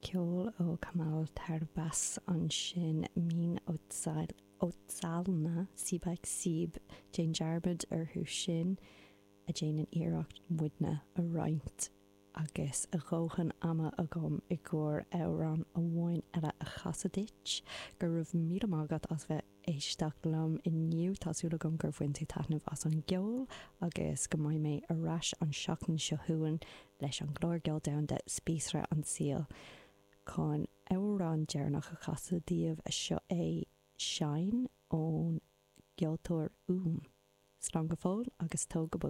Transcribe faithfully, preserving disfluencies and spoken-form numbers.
Ceol ó Kamal Tarbas ansin Mín Otsalna Sibak Sib déan dearmad orthu sin a déanann iarracht muidne a roinnt agus a dhóthain ama agam i gcomhair amhrán amháin eile a chasadh duit, go raibh míle maith agat as bheith éisteacht liom inniu tá súil agam gur bhain tú taitneamh as an gceol agus go mbeidh mé ar ais an seachtain seo chugainn leis an gclár Ceol Domhanda Spíosra an tSaoil. Chun amhrán deireanach a chasadh daoibh seo é Shine ón gceoltóir Úm. Slán go fóill agus tóg go bog.